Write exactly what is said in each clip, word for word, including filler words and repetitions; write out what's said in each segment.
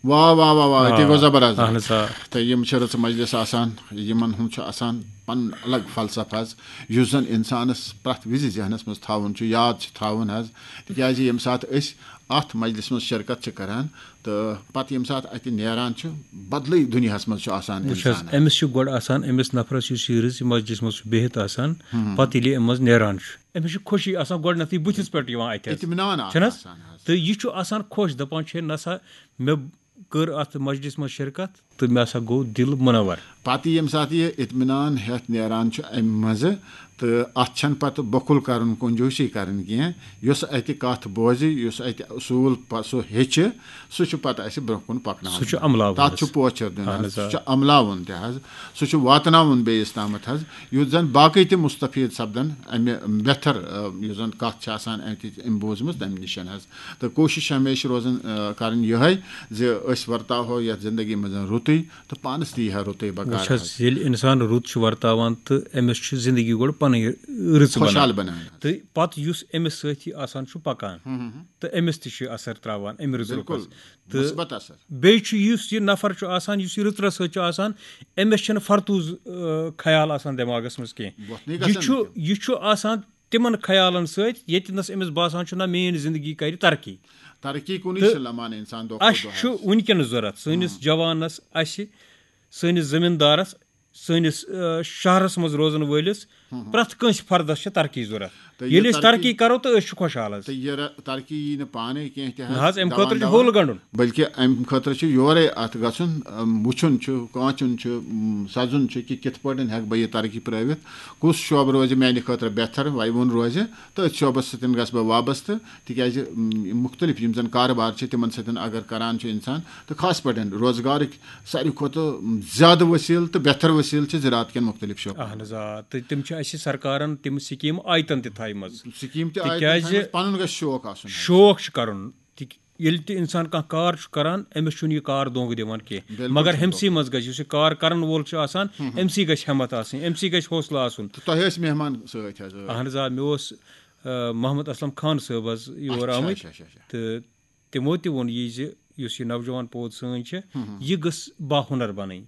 واہ واہ واہ واہ، تہِ گوٚو زبردست۔ اہن حظ، آ۔ تہٕ یِم چھِ رٕژٕ مجلس آسان، یِمن ہُنٛد چھُ آسان پنُن الگ فلسفہٕ حظ، یُس زن انسانس پرٛٮ۪تھ وِزِ ذہنس منٛز تھاوُن چھُ، یاد چھُ تھاوُن حظ۔ تِکیازِ ییٚمہِ ساتہٕ أسۍ اتھ مجلس منٛز شرکت چھِ کران تہٕ پتہٕ ییٚمہِ ساتہٕ اتہِ نیران چھُ، بدلٕے دُنیاہس منٛز چھُ آسان وٕچھ حظ، انسان۔ أمِس چھُ گۄڈٕ آسان، أمِس نفرس یُس یہِ رٕژ مجلس منٛز چھُ بِہِتھ آسان، پتہٕ ییٚلہِ یہِ أمۍ منٛز نیران چھُ، أمِس چھُ خوشی آسان گۄڈٕنٮ۪تھٕے بٕتھِس پٮ۪ٹھ یِوان اتہِ حظ۔ اطمینان اکھ چھُنہٕ حظ؟ آسان حظ۔ تہٕ یہِ چھُ آسان خۄش، دپان چھُ، ہے نسا، مےٚ کٔر اتھ مجلس منٛز شرکت تہٕ مےٚ ہسا گوٚو دِل منور۔ پتہٕ ییٚمہِ ساتہٕ یہِ اطمینان ہٮ۪تھ نیران چھُ امہِ منٛزٕ، تہٕ اتھ چھنہٕ پتہٕ بۄکُل کرُن، کنجوسی کرٕنۍ کینٛہہ۔ یُس اتہِ کتھ بوزِ، یُس اتہِ اصوٗل پ-، سُہ ہیٚچھِ، سُہ چھُ پتہٕ اسہِ برونٛہہ کُن پکناوُن۔ سُہ چھُ عملاوُن تتھ حظ۔ چھُ پوچھر دیُن اہن حظ، حظ، آ۔ سُہ چھُ عملاوُن تہِ حظ، سُہ چھُ واتناوُن بیٚیِس تامتھ حظ، یُتھ زن باقٕے تہِ مستفید سپدن امہِ بہتر، آ، یُس زن کتھ چھِ آسان اتہِ امہِ بوٗزمٕژ تمہِ نِش حظ۔ تہٕ کوٗشِش چھِ ہمیشہِ روزان، آ، کرٕنۍ یِہے زِ أسۍ ورتاوہو یتھ زندگی منٛز رُتُے تہٕ پانس تہِ یی ہا رُتُے بکار وٕچھ حظ، حظ۔ ییٚلہِ انسان رُت چھُ ورتاوان تہٕ أمِس چھُ زندگی گۄڈٕ پنٕنۍ رٕژ بنان۔ خۄشحال بنان حظ۔ تہٕ پتہٕ یُس أمِس سۭتۍ آسان چھُ پکان تہٕ أمِس تہِ چھُ اثر تراوان امہِ رٕژ بِلکُل، رُکس۔ تہٕ مثبت اثر۔ بیٚیہِ چھُ یُس یہِ نفر چھُ آسان، یُس یہِ رٕژرس سۭتۍ چھُ آسان، أمِس چھُنہٕ فرتوٗز، آ، خیال آسان دٮ۪ماغس منٛز کینٛہہ۔ وۄتھنٕے یہِ گژھن چھُ نہٕ تِم۔ یہِ چھُ آسان تِمن خیالن سۭتۍ، ییٚتہِ نس أمِس باسان چھُ، نہ، میٲنۍ زندگی کرِ ترقی۔ ترقی کُنُے تہٕ چھِ لمان انسان دۄہ کھۄتہٕ اَسہِ دۄہ چھُ حظ۔ وٕنکیٚنس ضوٚرتھ سٲنِس جوانس، اَسہِ، سٲنِس زٔمیٖندارس، سٲنِس، آ، شہرس منٛز روزن وٲلِس، پرٛٮ۪تھ کٲنٛسہِ فردس چھِ ترقی ضوٚرتھ۔ تہٕ ییٚلہِ یہِ أسۍ ترقی کرو تہٕ أسۍ چھِ خۄشحال حظ۔ تہٕ یہِ ر-، ترقی یی نہٕ پانے کینٛہہ تہِ حظ۔ نہ حظ، اَمہِ دَوان خٲطرٕ چھُ دَوان۔ ہوٚل گنٛڈُن۔ بلکہِ اَمہِ خٲطرٕ چھُ یورے اَتھ گژھُن، اَم، وٕچھُن چھُ، کانٛچُن چھُ، اَم، سَزُن چھُ کہِ کِتھ پٲٹھۍ ہٮ۪کہٕ بہٕ یہِ ترقی پرٲوِتھ، کُس شعبہٕ روزِ میانہِ خٲطرٕ بہتر، وۄنۍ ووٚن روزِ، تہٕ أتھۍ شعبس سۭتۍ گژھٕ بہٕ وابستہٕ، تِکیازِ، اَم، یِم مُختٔلِف یِم زَن کارٕبار چھِ، تِمن سۭتۍ اگر کران چھُ اِنسان، تہٕ خاص پٲٹھۍ روزگارٕکۍ ساروی کھۄتہٕ زیادٕ وسیٖلہٕ تہٕ بہتر وسیٖلہٕ چھِ زراعت کٮ۪ن مُختٔلِف شعبن۔ اہن حظ، آ، تہٕ تِم چھِ اَسہِ سرکارن تِم سکیٖم آیتن تہِ تھایمژٕ۔ سکیٖم تہِ آیہِ تِکیٛازِ تِم تھٲومٕژ، پنُن گژھِ شوق آسُن حظ۔ شوق چھُ کرُن۔ تِک-، ییٚلہِ تہِ انسان کانٛہہ کار چھُ کران، أمِس چھُنہٕ یہِ کار دھونٛکہٕ دِوان کینٛہہ، بِلکُل مگر چھُنہٕ ہُمسٕے منٛز گژھِ، یُس یہِ کار کرن وول چھُ آسان، أمسٕے گژھِ ہمت آسٕنۍ، أمسٕے گژھِ حوصلہٕ آسُن۔ تہٕ تۄہہِ ٲسۍ مہمان سۭتۍ حظ؟ اہن حظ، آ، مےٚ اوس، آ، محمد اسلم خان صٲب حظ یور اچھا، آمٕتۍ، اچھا، اچھا، اچھا۔ تہٕ تِمو تہِ ووٚن یہِ زِ یُس یہِ نوجوان پوٗد سٲنۍ چھِ، یہِ گٔژھ باہُنر بنٕنۍ۔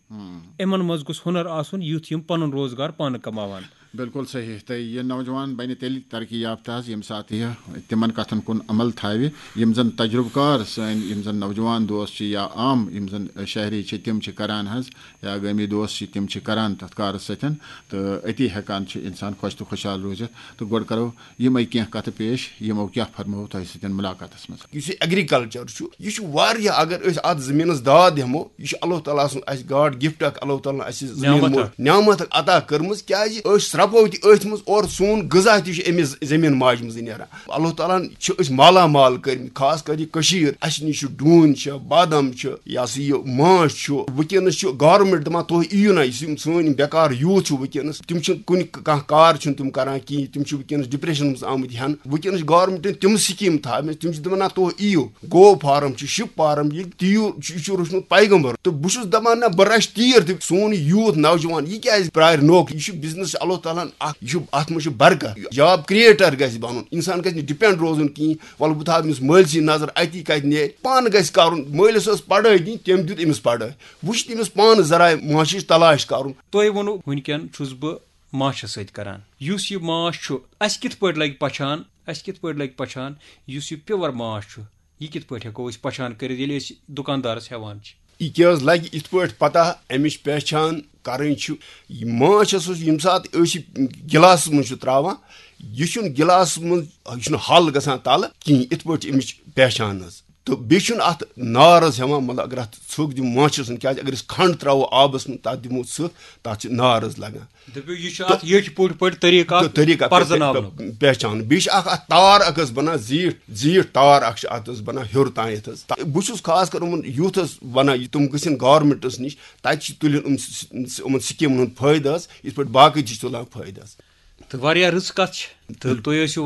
یِمن منٛز گوٚژھ ہُنر آسُن، یُتھ یِم پنُن روزگار پانہٕ کماون۔ بِلکُل صحیح۔ تہٕ یہِ نوجوان بَنہِ تیٚلہِ ترقی یافتہٕ حظ، ییٚمہِ ساتہٕ یہِ تِمَن کَتھَن کُن عمل تھاوِ، یِم زَن تجرُبہٕ کار سٲنۍ، یِم زَن نوجوان دوس چھِ یا عام یِم زَن شہری چھِ، تِم چھِ کَران حظ، یا گٲمی دوس چھِ، تِم چھِ کَران تَتھ کارَس سۭتۍ۔ تہٕ أتی ہٮ۪کان چھُ اِنسان خۄش تہٕ خۄشحال روٗزِتھ۔ تہٕ گۄڈٕ کَرو یِمَے کینٛہہ کَتھٕ پیش، یِمو کیٛاہ فرموو تۄہہِ سۭتۍ مُلاقاتَس منٛز۔ یُس یہِ ایگریکلچر چھُ، یہِ چھُ واریاہ، اگر أسۍ اَتھ زٔمیٖنَس داد ہٮ۪مو، یہِ چھُ اللہ تعالیٰ سُنٛد اَسہِ گاڈ گفٹ اکھ، اللہ تعالیٰ ہَن اَسہِ زٔمیٖن نعمت مو-، اکھ۔ نعمت اکھ عطا کٔرمٕژ، کیٛازِ أسۍ رَپو تہِ أتھۍ منٛز، اور سون غذا تہِ چھُ أمِس زٔمیٖن ماجہِ منٛزٕے نیران۔ اللہ تعالیٰ ہَن چھِ أسۍ مالا مال کٔرمٕتۍ، خاص کر یہِ کٔشیٖر، اَسہِ نِش چھُ ڈوٗنۍ چھِ، بادام چھِ، یہِ ہسا یہِ ماچھ چھُ۔ وٕنکیٚنَس چھُ گورنمنٹ دَپان، تُہۍ یِیِو نہ، یُس یِم سٲنۍ یِم بیکار یوٗتھ چھُ وٕنکیٚنَس، تِم چھِنہٕ کُنہِ کانٛہہ کار چھِنہٕ تِم کران کِہیٖنۍ، تِم چھِ وٕنکیٚنَس ڈپریشن منٛز آمٕتۍ ہٮ۪نہٕ۔ وٕنکیٚنَس چھِ گورنمنٹَن تِم سکیٖم تھاومٕژ، تِم چھِ دَپان، نہ، تُہۍ یِیِو، گٲو فارم چھُ، شِپ فارم، یہِ تیٖر چھُ، یہِ چھُ روٚچھمُت پیغمبر۔ تہٕ بہٕ چھُس دَپان، نہ، بہٕ رَچھٕ تیٖر تہِ، سون یہِ یوٗتھ نوجوان، یہِ کیٛازِ پرٛارِ نوکری؟ یہِ چھُ بِزنِس چھُ اللہ تعالیٰ ہَن اَکھ، یہِ چھُ، اَتھ منٛز چھُ برکت، جاب کریٹر گژھِ بَنُن، اِنسان گژھِ نہٕ ڈِپینڈ روزُن کِہیٖنۍ۔ وَلہٕ بہٕ تھاوٕ أمِس مٲلۍ سٕے نظر، اَتی کَتہِ نیرِ؟ پانہٕ گژھِ کَرُن۔ مٲلِس ٲس پَڑھٲے دِنۍ، تٔمۍ دیُت أمِس پَڑھٲے۔ وۄنۍ چھِ تٔمِس پانہٕ ذرایع معاشٕچ تلاش کَرُن۔ تۄہہِ ووٚنوُ، وٕنکٮ۪ن چھُس بہٕ ماچھَس سۭتۍ کَران۔ یُس یہِ ماچھ چھُ، اَسہِ کِتھ پٲٹھۍ لَگہِ پہچان؟ اَسہِ کِتھ پٲٹھۍ لَگہِ پہچان یُس یہِ پیور ماچھ چھُ؟ یہِ کِتھ پٲٹھۍ ہٮ۪کو أسۍ پہچان کٔرِتھ، ییٚلہِ أسۍ دُکاندارَس ہٮ۪وان چھِ؟ یہِ کیٛاہ حظ لَگہِ یِتھ پٲٹھۍ پَتہ اَمِچ پہچان کَرٕنۍ چھُ؟ یہِ ماچھ ہسا چھُ، ییٚمہِ ساتہٕ أسۍ یہِ گِلاسَس منٛز چھِ ترٛاوان، یہِ چھُنہٕ گِلاسَس منٛز، یہِ چھُنہٕ حل گژھان تَلہٕ کِہیٖنۍ، یِتھ پٲٹھۍ چھِ اَمِچ پہچان حظ۔ تہٕ بیٚیہِ چھُنہٕ اَتھ نار حظ ہٮ۪وان، مطلب، اگر اَتھ ژھُک دِمو ماچھَس منٛز، کیٛازِ اگر أسۍ کھنٛڈ ترٛاوو آبَس منٛز، تَتھ دِمو ژھُک، تَتھ چھِ نار حظ لَگان۔ دٔپِو، یہِ چھُ اَتھ ییٚٹھۍ پٲٹھۍ پٲٹھۍ طریٖقہٕ اَکھ تہٕ طریٖقہٕ اَکھ پَرزٕناونُک۔ پہ-، پہچان۔ بیٚیہِ چھِ اَکھ اَتھ تار اَکھ حظ بَنان زیٖٹھ، زیٖٹھ تار اَکھ چھِ اَتھ حظ بَنان ہیوٚر تام یَتھ حظ۔ تہٕ بہٕ چھُس خاص کر یِمَن یوٗتھَس وَنان، یہِ تِم گٔژھِنۍ گورمٮ۪نٛٹَس نِش، تَتہِ چھِ تُلِنۍ یِم س-، س-، یِمَن سکیٖمَن ہُنٛد فٲیدٕ حظ، یِتھ پٲٹھۍ باقٕے تہِ چھِ تُلان فٲیدٕ حظ۔ تہٕ واریاہ رٕژ کَتھ چھِ۔ تہٕ تُہۍ ٲسِو